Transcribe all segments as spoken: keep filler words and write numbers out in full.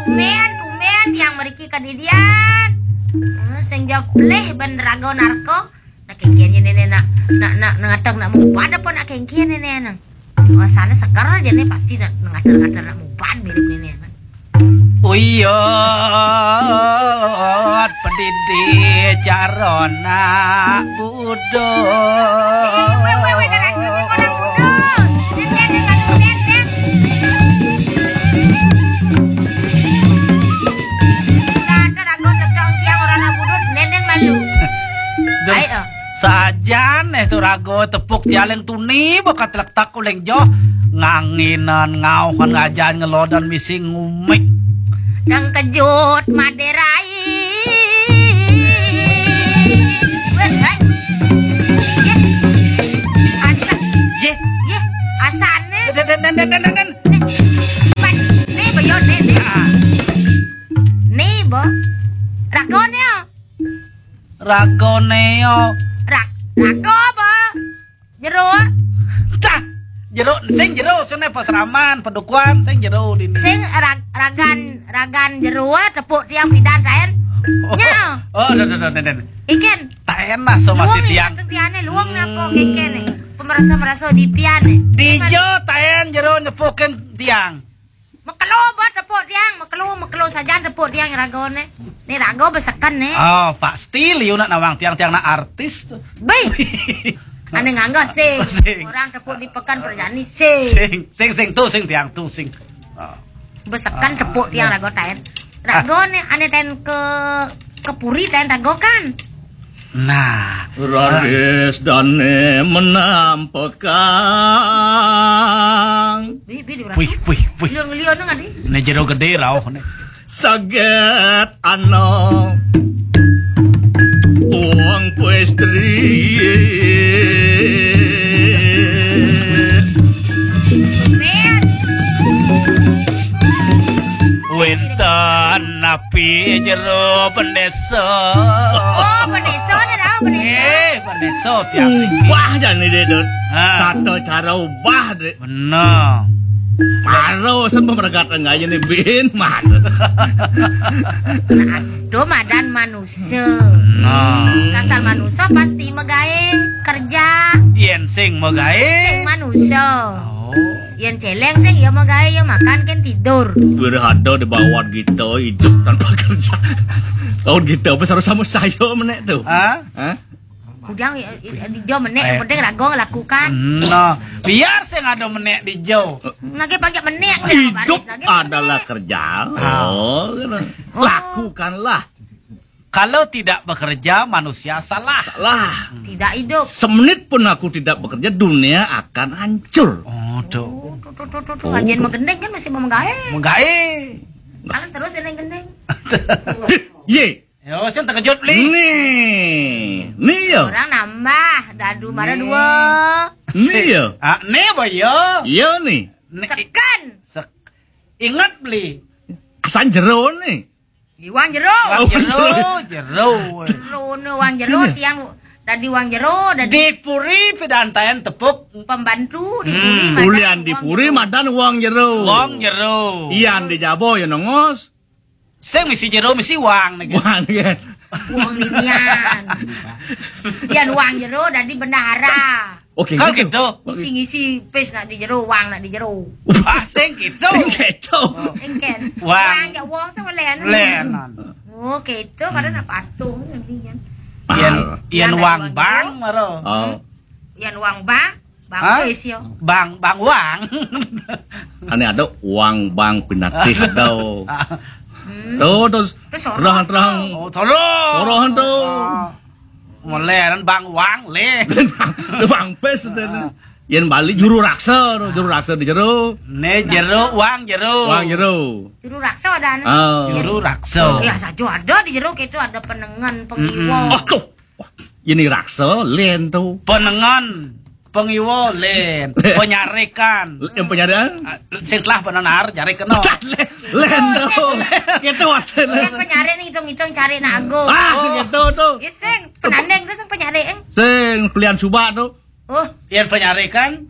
Tumben, tumben tiang mriki kadidian. Eh, sing jawab pelih ben raga narka. Nak kengkian ya nenek nak, nak, nak, nak ngatang nak mubad apa nak kengkian nenek nang. Rasane seger aja nih, pasti nak ngater-ngater nak mubad mirip nenek nang. Uyut pedidi carana budut. Weh, weh, weh, jangan, jangan, jangan budut. Nenek, nenek, nenek, nenek. Ada raga tepuk tiang orang nak budut, nenek malu. Terus ayo. Sajan eh tu raga tepuk tiang leng tuni, bakat letak uleng joh. Nganginan, ngauhan, ngajan, ngelodan, misi ngumik. Dang kejut maderai. Weh, hai. Ye. Asa. Ye. Ye, asane. Den, den, den, den, den, den. Nih, bayo, nih, nih. Ah. Nih, bo. Ragone, yo. Ragone, yo. Ra-, raga apa? Jero. Tah, jero, sing jero, sing ne pasraman, padukuan, sing jero di. Sing rag-, ragan, ragan jero, tepuk tiang pidan, taen. Oh. Nya. Oh, den, den, den, den. Iken. Taen lah, so masih luang tiang. Tiane, luang ne apa, hmm, keke ne. Pemerasa-merasa di pian ne. Dijo, taen jero, nyepukin tiang. Mekelo ba tepuk tiang, mekelo, mekelo sajan tepuk tiang ragone. Ni raga beseken ni. Oh, pasti liu nak nawang tiang, tiang nak artis tu. Bei. Ane ngangga sing. Sing. Orang tepuk di Pekan Perjani sing. Sing, sing, sing tu, sing tiang tu, sing. Oh. Beseken tepuk tiang raga taen. Raga ni ane taen ke, ke puri taen raga kan. Nah. Raris dane menampekang. Bi, bi, di. Wih, wih, wih. Liur ngeliur nang adi. Ne jero gede rauh ne. Saget ano. Tuang pastry. Wenten napi jero bendesa. Oh, bendesa ne dah, bendesa. Eh, bendesa tiap mriki. Ubah jani deh, Dut. Ha. Tata cara ubah deh. Bener. Maro sen pemergat enggak aja nih, Bin. Mano. Nah, do madan manusia. Nah. Asal manusia pasti megae kerja. Yen sing megae. Sing manusia. Oh. Yen celeng sing, ya megae, ya makan, kan tidur. Wirih ada di bawah kita hidup tanpa kerja. Lawan kita apa sama-sama saya menek tu. Ha? Ha? Kudang, ya, ya, di jo menek, yang penting raga lakukan. Nah, biar sing ada menek di jo. Nage panjak menek, hidup adalah kerja. Ah. Oh, gitu. Oh. Lakukanlah. Kalau tidak bekerja, manusia salah. Salah. Tidak hidup. Semenit pun aku tidak bekerja, dunia akan hancur. Oh, tuh. Oh, tuh, tuh, tuh, tuh, tuh. Ajen menggendeng kan masih mau menggae. Menggae. Kan terus ini gendeng. Ye. Yo, sing terkejut beli. Nih, nih yo. Orang nambah, dadu mara dua. Nih yo. Ah, nih apa yo? Yo nih. Nih. Seken. Sek-, ingat beli. Asan jero nih. Di wang jero. Wang jero, jero. Jero ne wang jero, tiang dadi wang jero, dadi di puri pidantayan tepuk. Pembantu di puri. Hmm. Madan ulian di wang puri jero. Madan wang jero. Wang jero. Ian di jabo ya nongos. Sing misi jero, misi wang nih. Wang nih. Wang ninian. Ian wang jero, dadi bendahara. Oke, kan gitu. Gitu. Ngisi-ngisi pis nak di jero, wang nak di jero. Wah, sing gitu. Sing gitu. Oh. Sing kan. Wang. Wang jak wong sama lenan. Lenan. Oh, gitu. Kadang nak patuh nantinya. Ian, ah, ian wang bang, maro. Oh. Ian wang bang, bang pis yo. Bang, bang wang. Ane ada wang bang pinatih ada. Hmm. Tuh, terus terus terang, terang. Oh, terus. Terang tuh. Ah. Mulai kan Bang Wang le. Bang Pes ten. Ah. Yen Bali juru raksa, juru raksa di jero. Ne jero, wang jero. Wang jero. Juru raksa ada anu. Ah. Juru raksa. Ya saja ada di jero gitu, ada penengen, pengiwa. Mm-mm. Oh, tuh. Wah, ini raksa len tuh. Penengen, pengiwa len, penyarikan. Yang penyarikan? Ah, sing telah benar nyari kena. Len tuh. Gitu maksudnya. Yang penyari nih hitung-hitung cari nago. Ah, gitu tuh. Ya sing penandeng terus yang penyari, eng. Sing pilihan suba tuh. Oh. Yang penyari kan?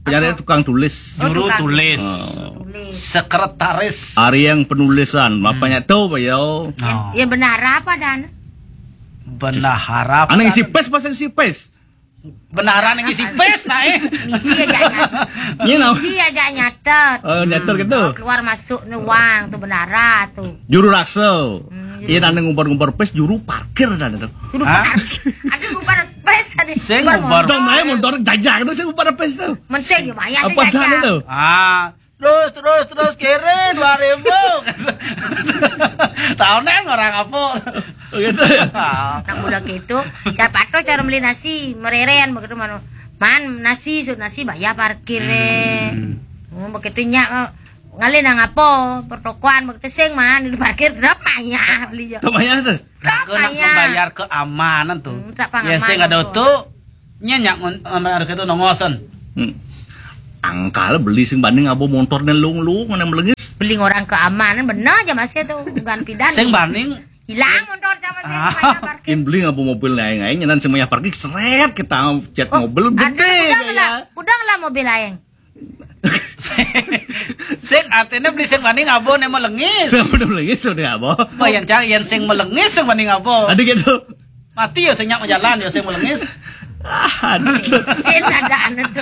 Penyari apa? Tukang tulis. Oh, juru tukang tulis. Oh. Sekretaris. Ari yang penulisan, apa nya tu, Bayo? Ya, ya, bendahara apa dan? Bendahara apa? Anak isi pes, pasal isi pes. Bendahara nang isi pes, nah, eh. Misi aja nyata. Misi aja nyatet. Oh, nyatet gitu. Keluar masuk ni wang tu bendahara tu. Juru raksa. Hmm, iya, dan ngubar-ngubar pes, juru parkir dan tu. Juru parkir. Ada ngubar pes, ada. Saya ngubar. Dong, naik motor jajak tu, saya ngubar pes tu. Mesti dia bayar. Apa dah tu? Ah, terus, terus, terus, kiri dua ribu. Tahu nang orang apa? Oh, gitu ya? Nang budak itu, siapa tu cara beli nasi, mereren begitu, mano. Man, nasi, su nasi, bayar parkir, eh. Hmm. Oh, begitu nya, eh, ngalih nang apa, pertokoan, begitu sing, man, di parkir, kenapa ya beli je? Kenapa ya tu? Kenapa nak ya? Membayar keamanan tu. Hmm, tak paham. Ya, sing ada tu, nya nyak ngon-, ngambil harga tu nongosan. Hmm. Angkal beli sing banding abo motor ni lung-lung, mana melengis. Beli orang keamanan, benar aja masih tu, gan pidan. Sing banding. Hilang motor sama sing mayar parkir. Im beli abo mobil lain-lain, nyenan sing mayar parkir, seret kita cat mobil gede. Udah lah, udah lah mobil lain. Sing artinya beli sing banding abo ni melengis. Sing banding melengis, sudah abo. Bayan cang, yang sing melengis, sing banding abo. Ada gitu. Mati ya, sing nyak majalan ya, sing melengis. Ah, aduh. Sin ada anu tu.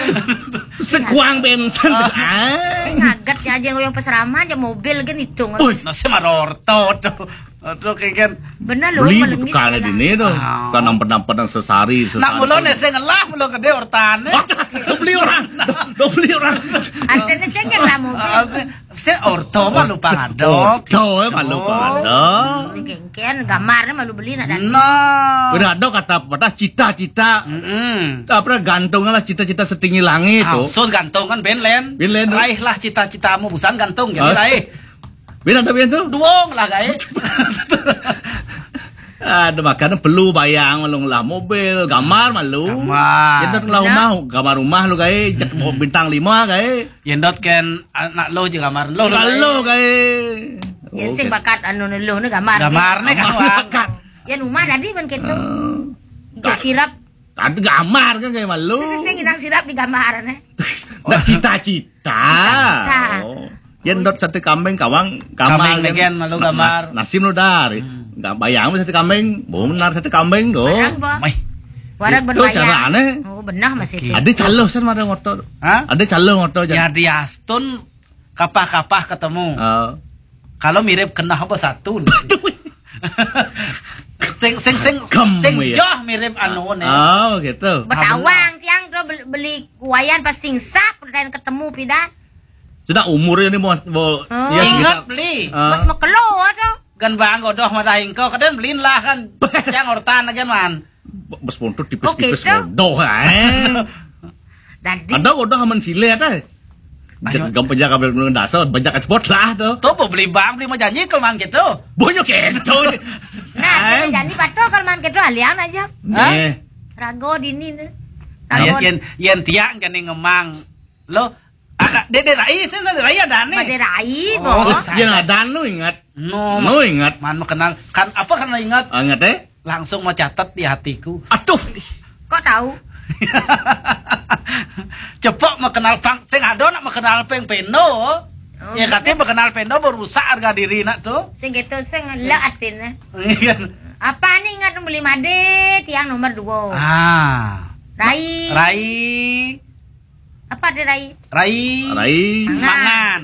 Sekuang bensin tu. Ah. Ngaget ya aja yang peseraman ya mobil kan hitung. Ui. Nasi marorto tu. Aduh, kayak kan. Bener loh, beli melengis bekal di ni tu. Ah. Tanam penampan yang sesari, sesari. Nak mulo ni sing ngelah, mulo gede ortane. Dah beli orang. Dah, dah beli orang. Artinya sing ngelah mobil. Artinya, Sing orto mah lupa ngadok. Orto, eh, mah lupa ngadok. Sing kengken, gambarnya malu beli nak dan. Nah. Udah ada kata patah cita-cita. Mm-mm. Apa gantung lah cita-cita setinggi langit tu. Sun gantung kan ben len. Ben len tu. Raihlah cita-citamu, busan gantung jadi raih. Ben ada ben tu. Duong lah, guys. Ada makanan perlu bayang malu ngelah mobil, gambar malu. Gambar. Kita ngelah rumah, gambar rumah lu, guys. Bintang lima, guys. Yendot ken anak lo je gambar lo. Lo gae. Yen sing bakat anu lo ne gambar. Gambar ne gambar. Bakat. Yen umah tadi ban keto. Ijo sirap. Ada gambar kan kayak malu. Sing, sing, sing inang sirap di gambar ne. Nah, cita-cita. Cita-cita. Oh. Yen dot sate kambing kawang gambar. Kambing kan malu gambar. Nasim lo dari. Enggak bayang sate kambing, benar sate kambing do. Warag ba. Warag ben bayang. Itu carane. Oh, benah masih. Ada caloh san mada ngotor. Hah? Ada caloh ngotor jan. Ya di Astun kapah-kapah ketemu. Oh. Kalau mirip kenah apa satu. Sing sing sing sing joh mirip anu ne. Oh, gitu. Betawang tiang tu beli, beli kuayan pas tingsap dan ketemu pidan. Sudah umurnya ni mau, mau ya, ingat beli. Mas makelo tu. Gan bang godoh mata ingko, kadang beliin lah kan. Siang ortan aja man. Bos montor tipis-tipis godoh, eh. Dadi. Ada godoh aman sile ada. Gampang jaga belum dasar, banyak spot lah tu. Tu mau beli bang, beli mau janji kalau man gitu. Banyak gitu. Nah, beli janji patuh kalau man gitu alian aja. Eh. Rago dini tu. Rago. Yen yen tiang kene ngemang. Lo ada dede rai, sih dede rai ada nih. Dede rai, bos. Yen ada nu ingat. No, no ingat. Man mau kenal kan apa karena ingat? Ingat eh? Langsung mau catat di hatiku. Aduh. Kok tahu? Cepok mau kenal pang, sing ada nak mau kenal peng pendo. Oh, ya katanya mau kenal pendo berusak harga diri nak tu. Sing gitu sing le atine. Apa nih ingat beli made tiang nomor dua. Ah. Rai. Rai. Apa ada rai? Rai. Rai. Mangan. Mangan.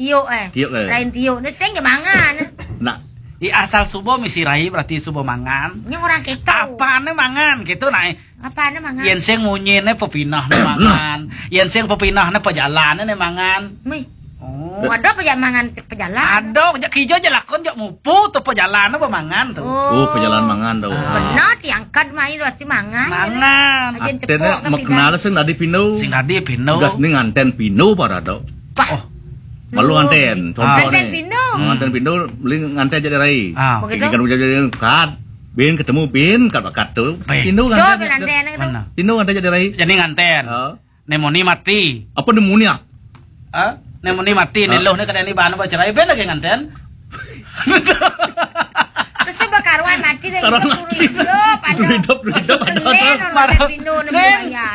Tiuk eh. Tiuk eh. Rai tiuk. Ni sing je mangan. Nak. I asal subuh misi rai berarti subuh mangan. Ini orang keto. Apa ni mangan gitu nah. Apa ni mangan? Yen sing munyi ni pepinah ni mangan. Yen sing pepinah ni pejalan ni mangan. Mih. Oh. Ada pejalan mangan pejalan. Ada, jak kijo je lakon jak mupu tu pejalan apa mangan tu. Oh, pejalan mangan tu. Benar diangkat mai berarti mangan. Mangan. Ajen cepok. Artinya kan makna sing tadi pindu. Sing tadi pindu. Gas ni nganten pindu para tu. Pah. Oh. Malu nganten. Contoh nganten ni. Pindu. Nganten pindu, beli nganten jadi rai. Ah. Begitu. Kan ujar jadi kad. Bin ketemu bin kad bakat tu. Pindu nganten. Mana? Pindu nganten jadi rai. Jadi nganten. Oh. Nemoni mati. Apa nemoni ah? Hah? Nemoni mati, ni loh ni kada ni bahan baca rai ben lagi nganten. Terus bakaruan mati deh, karuan hidup mati. Hidup, hidup, hidup, ada, ada. Maro, sing,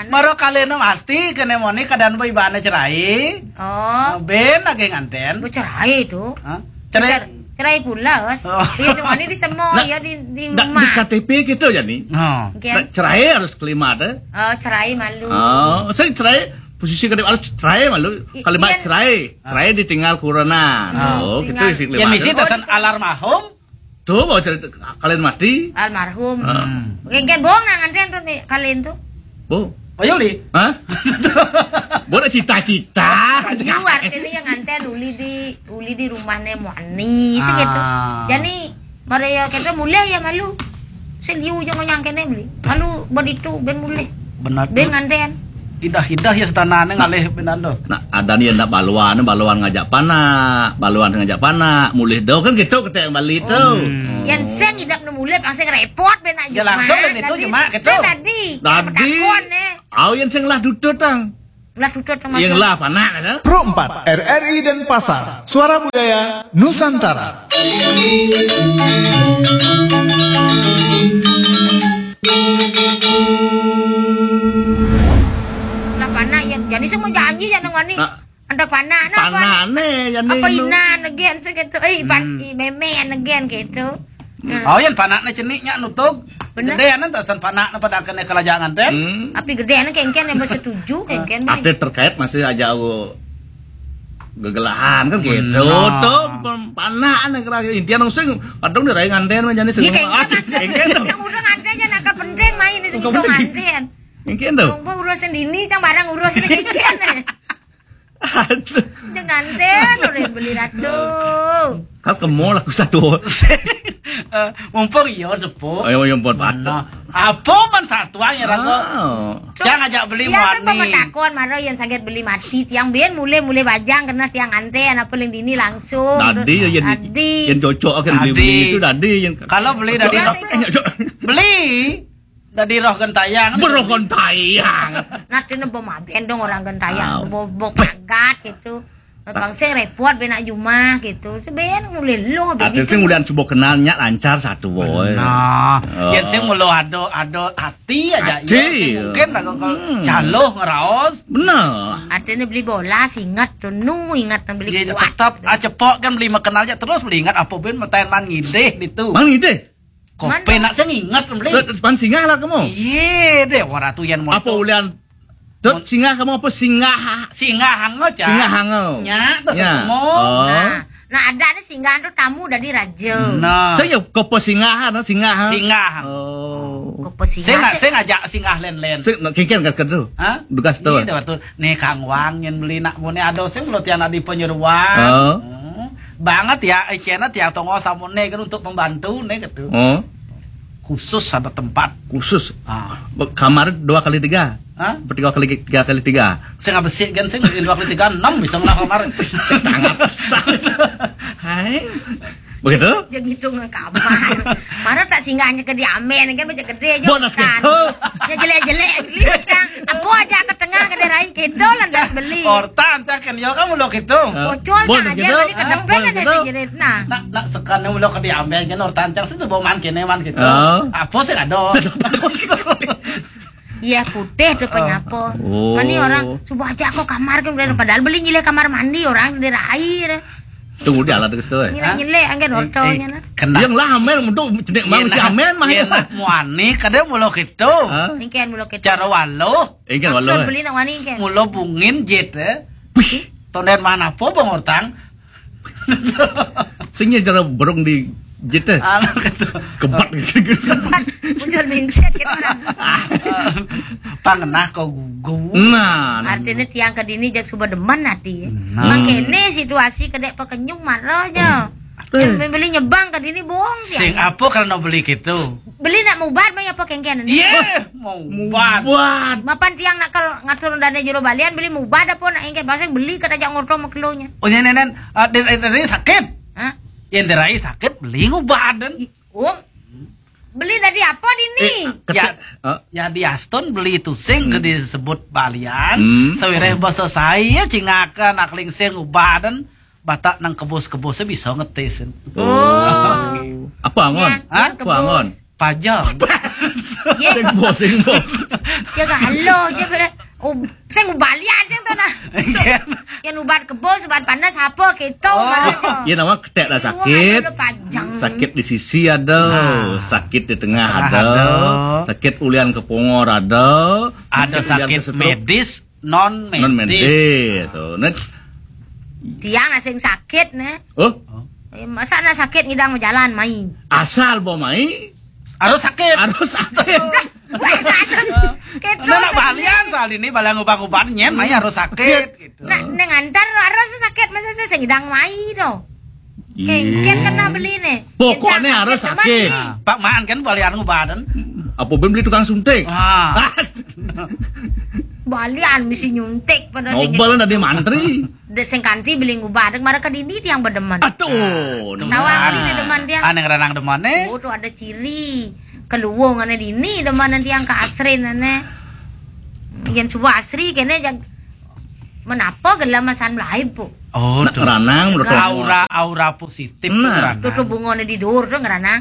maro kalena mati, kene moni keadaan bo ibane cerai. Oh. Ben lagi nganten. Bu cerai tu. Hah? Cerai. Cerai pula, Bos. Oh. Iya, dong, ini di semua, nah, ya, di, di rumah. Di K T P gitu ya, nih. Oh. Nah, cerai harus kelima deh. Oh, cerai malu. Oh, saya cerai, posisi kedua harus cerai malu. Kalimat cerai, cerai ditinggal kurenan. Oh, gitu isi kelima. Yang misi tasan alarmahum. Tuh, mau cerita kalian mati. Almarhum. Oke, kan bohong nah nganten tuh nih, kalian tuh. Bo. Ayo, Li. Hah? Bo ada cita-cita. Iya, artinya yang nganten uli di, uli di rumahnya mau anis gitu. Jadi, mari ya, kita mulai ya malu. Seliu jangan nyangkene beli. Malu buat itu, ben mulai. Benar. Ben nganten. Idah-idah ya setanane ngalih benar tuh. Nah, ada nih ndak baluan, baluan ngajak panak, baluan ngajak panak, mulih do kan gitu kete Bali tuh. Yang sing idak nu mulih, pang sing repot ben nak. Ya, langsung ben itu jemak gitu. Saya tadi. Tadi. Takon, eh. Au yang sing lah dudut, tang. Lah dudut sama. Yang lah panak, kan? Pro empat, R R I Denpasar, Suara Budaya Nusantara. Lah panak ya. Jadi semua janji ya nang wani. Nah. Ada panak nah, panak nih, jadi apa inan again segitu. Eh, pan, i meme again gitu. Oh, yang panaknya ceniknya nutug. Bener. Gedean tuh san panaknya pada kena kelajangan teh. Tapi gedean kengken yang bersetuju, kengken. Ada terkait masih aja aku gegelahan kan gitu. Tuh, pem-, panak nih kira intian langsung kadang di rai nganten mah jadi. Iya, kengken. Kengken tuh. Yang udah nganten aja nak penting main di segitu nganten. Kengken tuh. Lomba urusan dini, cang barang urusan kengken. Aduh. Dengan den, udah beli ratu. Kau ke mall aku satu. Eh, mumpung iya, sepuh. Ayo, yang buat patah. Nah, apa man satu aja, Rangga? Oh. Cang ajak beli. Iya, mani. Saya mau takon, maro yang sakit beli mati. Tiang ben mulai-mulai bajang kena tiang nganten, apa yang dini langsung. Tadi ya, yang, tadi. Yang cocok kan beli-beli itu tadi. Yang kalau beli dari cocok, apa? Beli. Dadi roh gentayang. Beroh gentayang. Nanti nebo maben dong orang gentayang. Bo, bo kagat gitu. Bang sing repot benak jumah gitu. Seben mulai lo. Ati sing ulian coba kenal nyak lancar satu boy. Nah, yang sing mulu ado, ado ati aja. Ati, iya, mungkin lah kalau caloh ngeraos. Bener. Artinya beli bola, ingat tuh, nu ingat beli kuat. Tetap, ah, cepok kan beli makan aja terus beli ingat apa ben metaen man ngidih itu. Man ngidih? Kopi nak sing inget beli. Pan singgah lah kamu. Iya deh, orang tuh yang mau. Apa ulian? Dot singgah kamu apa singgah? Singgah hango, Cak. Singgah hango. Nya, tuh ketemu. Oh. Nah, nah, ada nih singgah tuh tamu dari raja. Nah. Saya kopo singgah, no, singgah. Singgah. Oh. Kopo singgah. Saya nggak, saya ngajak singgah len-len. Saya nggak kengken kat kedua. Hah? Dugas tuh. Iya, tuh. Nih Kang Wang yang beli nak mau nih ada sing lo tiang di penyeruan. Oh. Hmm. Banget ya, eh, cina tiang tongo samune kan untuk pembantu nih gitu. Oh. Khusus ada tempat. Khusus. Ah. Kamar dua kali tiga. Hah? Tiga kali, tiga kali tiga. Sing apa sih kan sing dua kali tiga enam bisa ngelah kamar. Tangan besar. Hai. Begitu? Dia ngitung kamar. Mana tak singgahnya ke diamen kan macam gede aja. Bonas gitu. Ya jelek-jelek gitu kan. Apa aja ke tengah ke daerah gitu lantas beli. Ortan cak kan ya kamu lo gitu. Bocor kan aja gitu. Beli ke depan ada sing jerit nah. Nak nak sekarang lo ke diamen kan ortan cak situ bawa man kene man gitu. Apa sih ada? Iya putih tuh penyapa. Oh. Mani orang subuh aja aku kamar kan udah padahal beli nyilih kamar mandi orang di air. Tunggu di alat terus tuh. Nyilih nyilih angin ortonya nah. Yang lah amen untuk cenik mang si amen mah ya. Muani kadang mulo gitu. Ingkian mulo gitu. Cara walo. Ingkian walo. Beli nak wani ingkian. Mulo bungin jet eh. Tonden mana apa bang ortang? Singnya cara berung di jete. Anu gitu. Kebat gitu. Kebat. Muncul mindset gitu orang. Pangenah kau gugu. Nah, nah. Artinya tiang ke dini jak suba demen hati. Nah. Makene situasi kedek pekenyung marah aja. Yang membeli nyebang ke dini bohong tiang. Sing apa kalau beli gitu? Beli nak mubat mah apa kengken? Iya, mubat. Mubat. Mapan tiang nak kal ngatur dana jero balian beli mubat apa nak engken bahasa beli kata jak ngorto maklonya. Oh, ya nenen, ah, dari, dari sakit. Hah? Yang dari sakit beli ngubat dan. Om, beli dari apa dini? Eh, ya, ya di Aston beli itu sing ke disebut balian. Sawireh bahasa saya cingakan akling sing ngubat dan Batak nang kebos-kebosnya bisa ngetesin. Oh. Apa angon? Hah? Apa angon? Pajang. Sing bo, sing bo. Ya galo aja pada. Oh, sing balian sing to nah. Yang ubat kebo, ubat panas apa gitu. Oh. Ya nama ketek lah sakit. Ada pajang. Sakit di sisi ada, sakit di tengah Tengah ada, ada. Sakit ulian kepungor ada, Ada ulian sakit kesetruk, medis, non non medis. medis. So, net, Tiang asing sakit nih. oh, Eh, masa na sakit ngidang majalan mai. Asal bo mai Harus sakit. Harus sakit. Wah, harus. Gitu. Nah, nak balian soal ini balian ubat-ubat nyen mai harus sakit gitu. Nah, neng antar harus sakit masa saya sing ngidang mai to. Kengken kena beli nih. Pokoknya Yang harus sakit sakit. Nah, Pak Maan kan balian ngubatan. Apa ben beli tukang suntik? Ah. Ah, Balian mesti nyuntik pada sing Nobel tadi mantri. De sing kanti beli ngubadek mara ke dini tiang bedemen. Aduh, Nawang ini demen tiang. Aneh ranang demane. Oh, tuh ada ciri. Keluwung ane dini demen tiang ke asrin ane. Yang coba asri kene jag menapa gelam masan melaib, Bu? Oh, Nak tuh. ranang menurut kamu. Aura aura positif tuh Nah. ranang. Tuh tuh bungone di dur tuh ngerana.